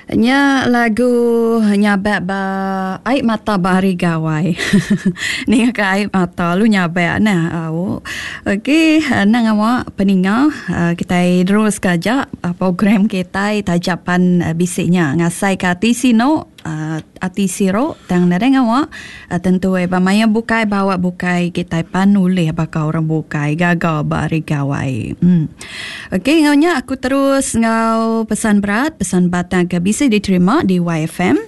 Nya lagu nyabak ba ai mata ba hari gawai. Ninga ka ai mata lu nyabak nah. Au. Okey nang awa peninga kitai terus ka aja program kitai taja pan bisi nya ngasai ka ati sinu. Ati siru tang nadai ngawa tentu ai ba maya bukai ba awak bukai kitai pan ulih baka orang bukai gaga ba hari gawai. Em. Okey enggau nya aku terus enggau pesan berat pesan batang ke bisi diterima di YFM.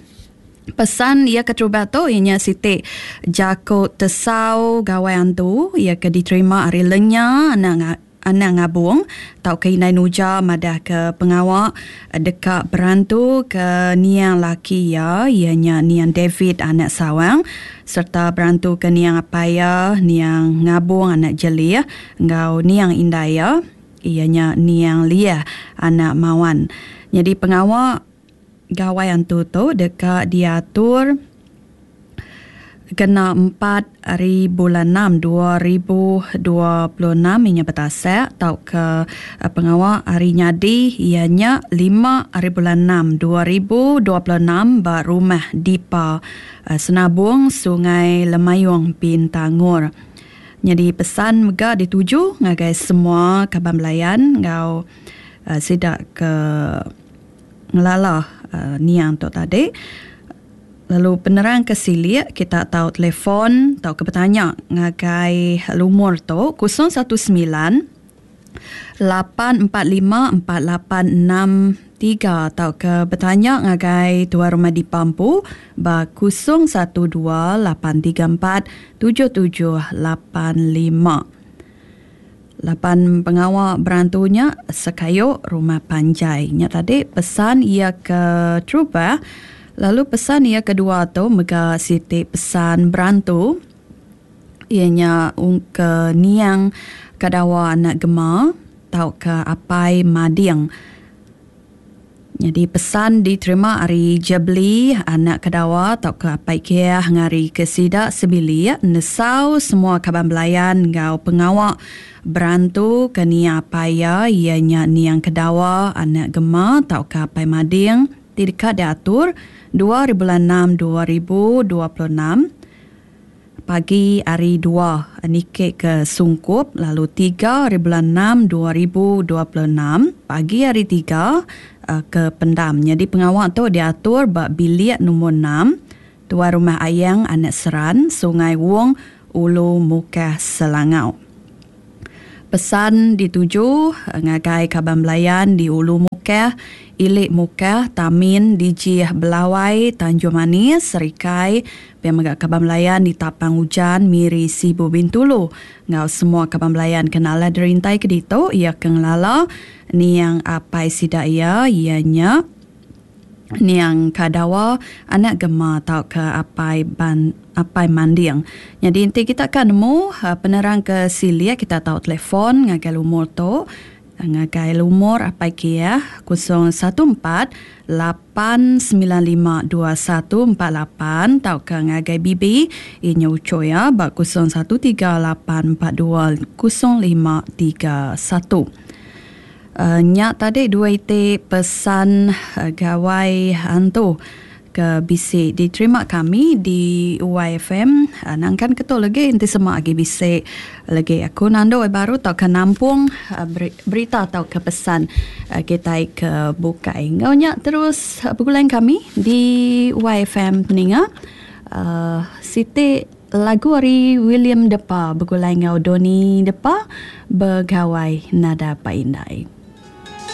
Pesan iya keterubah tu iya nya siti jaku tesau gawai antu iya ke diterima ari lenya anak Anang ngabung tauka indai nuja madahka pengawa deka berantu ke niang laki iya, iya nya niang David anak Sawang sereta berantu ke niang apai iya, niang Ngabung anak Jelih enggau niang indai iya, iya nya niang Liah anak Mawan. Nyadi pengawa Gawai Antu tu deka diatur kena empat ari bulan enam 2026 inya betasak tauka pengawa hari nyadi iya nya lima ari bulan enam 2026 ba Rumah Dipa Senabong Sungai Lemayong Bintangor. Nyadi pesan mega dituju ngagai semua kaban belayan enggau sida ke ngelala niang tu tadi. Lalu penerang ke silik kita tau telefon tauka betanya ngagai lumur tu 019 845 4863 tauka betanya ngagai Tuai Rumah Dipa empu ba 012 834 7785. Laban pengawa berantu nya sekayu rumah panjai. Nya tadi pesan iya ke terubah lalu pesan iya kedua tu mega siti pesan berantu iya nya ke niang Kadawa anak Gema tauka Apai Mading. Nyadi pesan diterima ari Jebli anak Kedawa tauka Apai Kiah ngarika sida sebilik nesau semua kaban belayan enggau pengawa berantu ke niang apai iya iya nya niang Kedawa anak Gema tauka Apai Mading ti deka diatur dua ari bulan enam 2026. Pagi hari dua niki ke Sungkup lalu tiga hari bulan enam 2026 pagi hari tiga ke Pendam. Nyadi pengawa tu diatur ba bilik nombor enam Tuai Rumah Ayang Anak Seran, Sungai Wong, Ulu Mukah Selangau. Pesan dituju ngagai kaban belayan di Ulu Mukah, Ili Mukah, Tamin, Dijih, Belawai, Tanjung Manis, Serikai, pia mega kaban belayan di Tapang Ujan, Miri, Sibu, Bintulu enggau semua kaban belayan ke nala dirintai ke ditu iya ke ngelala niang apai sida iya, iya nya. Niang Kadawa anak Gema tauka apai ban apai Manding. Nyadi enti kita ka nemu penerang ke silik kita tau telefon ngagai lumur tu ngagai lumur apai Kiah 014 895 2148 tauka ngagai Bibi iya nya uchu iya ba 013 842 0531. Nya tadi dua iti pesan gawai antu ke bisi diterima kami di YFM. Nangkan ke tu legi enti sema agi bisi legi aku nandu ai baru tauka nampung berita tauka pesan kitai ke bukai. Enggau nya terus begulai kami di YFM peninga siti Lagu ari William Depa begulai enggau Donny Depa begawai nada Pak Indai.